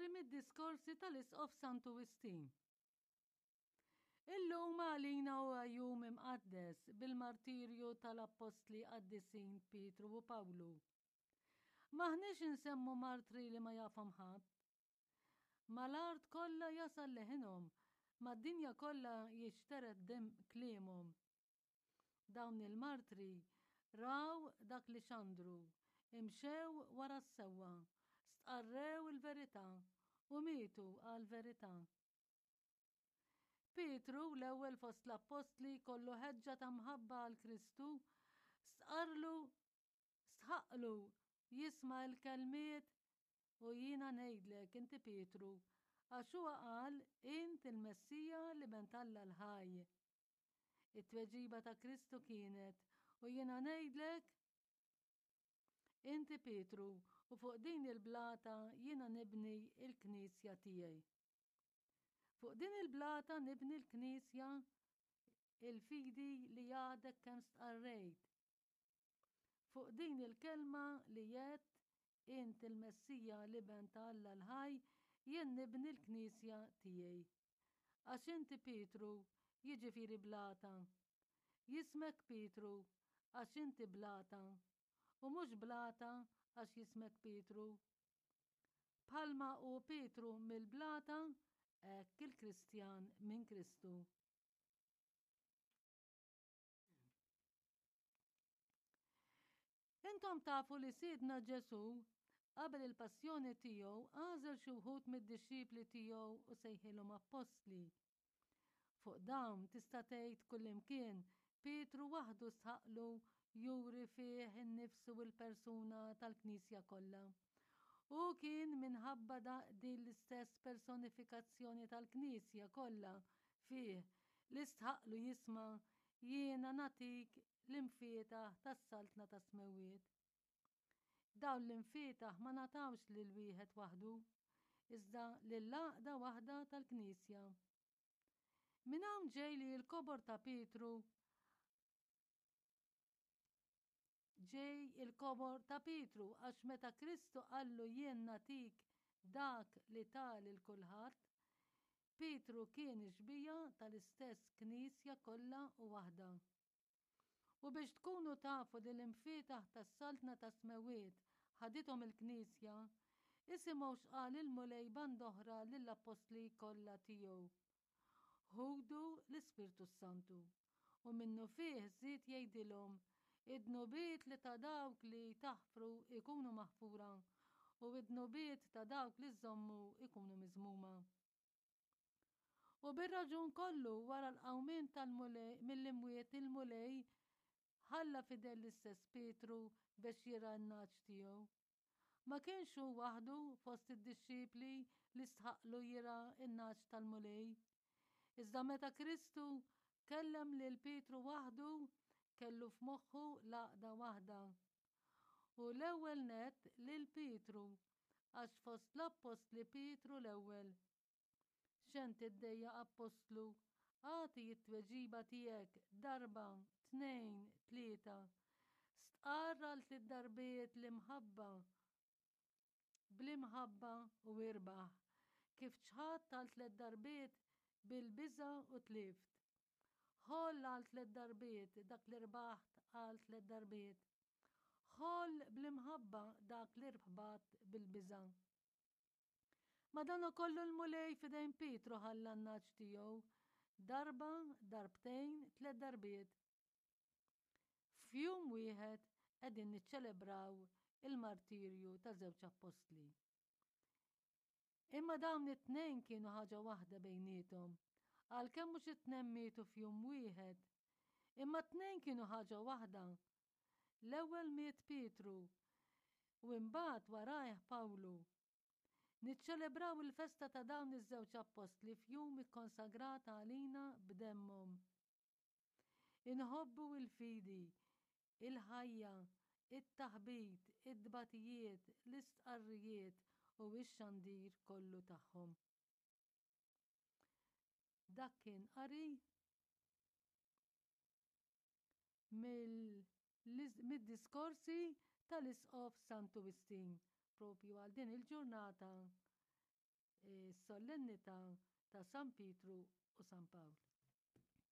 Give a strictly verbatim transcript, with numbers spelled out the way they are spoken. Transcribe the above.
Qari mid-diskorsi tal-Isqof Santu Wistin. Illum għalina huwa jum imqaddes bil-martirju tal-appostli qaddisin Pietru u Pawlu. M'aħniex insemmu martri li ma jafhom ħadd. Mal-art kollha jasal leħinhom, mad-dinja kollha jixtered dem kliemhom. Dawn il-martri raw dak li xandru, imxew wara s-sewwa, stqarrew il-verità u mietu għall-verità. Pietru, l-ewwel fost l-appostli kollu ħeġġa ta' mħabba għal Kristu, stqarrlu stħaqqlu jisma' l-kelmiet u jiena ngħidlek inti Pietru, għax huwa qal int il-Messija l-Iben t'Alla l-ħaj. It-tweġiba ta' Kristu kienet u jiena ngħidlek inti Pietru u fuq din il-blata jiena nibni il-knisja tiegħi. Fuq din il-blata nibni l-knisja il-fidi li għadek kemm stqarrejt. Fuq din il-kelma li għedt int il-Messija l-Iben ta' Alla l-ħaj jien nibni l-knisja tiegħi. Għax inti Pietru, jiġifieri blata. Jismek Pietru, għax inti blata. U mhux blata għax jismek Pietru. Bħalma hu Pietru mill-blata, hekk il-Kristjan minn Kristu. Intom tafu li Sidna Ġesù qabel il-passjoni tiegħu għażel xi wħud mid-dixxipli tiegħu u sejħilhom appostli. Fuq dawn tista' tgħid kullimkien Pietru waħdu stħaqqlu juri fih innifsu l-persuna tal-Knisja kollha. Hu kien minħabba din l-istess personifikazzjoni tal-Knisja kollha fih li stħaqqlu jisma' jiena nagħtik l-imfietaħ tas-Saltna tas-Smewwiet. Dawn l-imfietaħ ma ngħatawx lil wieħed waħdu, iżda lill-għaqda waħda tal-Knisja. Minn hawn ġej li l-kobor ta' Pietru ġej il-kobor ta' Pietru għax meta Kristu qallu jien nagħtik dak li ta lil kulħadd, Pietru kien xbieha tal-istess Knisja kollha u waħda. U biex tkunu tafu li l-imfietaħ tas-Saltna tas-Smewwiet ħadithom il-Knisja, isimgħu x'qal il-Mulej band'oħra lill-appostli kollha tiegħu. Ħudu l-Ispirtu s-Santu. U minnufih żied jgħidilhom, id-dnubiet li ta' dawk li taħfru jkunu maħfura, u id-dnubiet ta' dawk li żżommu jkunu miżmuma. U bir-raġun kollu wara l-qawmien tal-Mulej mill-imwiet il-Mulej ħalla fidel l-istess Pietru biex jirgħa n-nagħaġ tiegħu. Ma kienx hu waħdu fost id-dixxipli li stħaqqlu jirgħa n-nagħaġ tal-Mulej. Iżda meta Kristu kellem lil Pietru waħdu, kellu f'moħħu l-għaqda waħda. U l-ewwel nett lil Pietru, għax fost l-appostli Pietru l-ewwel. X'hemm tiddejjaq appostlu? Agħti t-tweġiba tiegħek darba, tnejn, tlieta. Stqarr għal tliet darbiet l-imħabba bl-imħabba u irbaħ. Kif ċħadt għal tliet darbiet bil-biża' u tlift. Ħoll għal tliet darbiet dak li rbaħt għal tliet darbiet. Ħoll bl-imħabba dak li rbaħt bil-biża'. Madankollu l-Mulej f'idejn Pietru ħalla n-nagħaġ tiegħu, darba, darbtejn, tliet darbiet. F'jum wieħed qegħdin niċċelebraw il-martirju ta' żewġ appostli. Imma dawn it-tnejn kienu ħaġa waħda bejniethom, għalkemm mhux it-tnejn mietu f'jum wieħed. Imma t-tnejn kienu ħaġa waħda. L-ewwel miet Pietru u imbagħad warajh Pawlu. Niċċelebraw il-festa ta' dawn iż-żewġ appostli f'jum ikkonsagrat għalina b'demmhom. Inħobbu il-fidi, il-ħajja, it-taħbit, it-tbatijiet, l-istqarrijiet u x-xandir kollu tagħhom. Dak kien qari mid-diskorsi tal-Isqof Santu Wistin propju għal din il-ġurnata. s-solennità ta' San Pietru u San Pawl.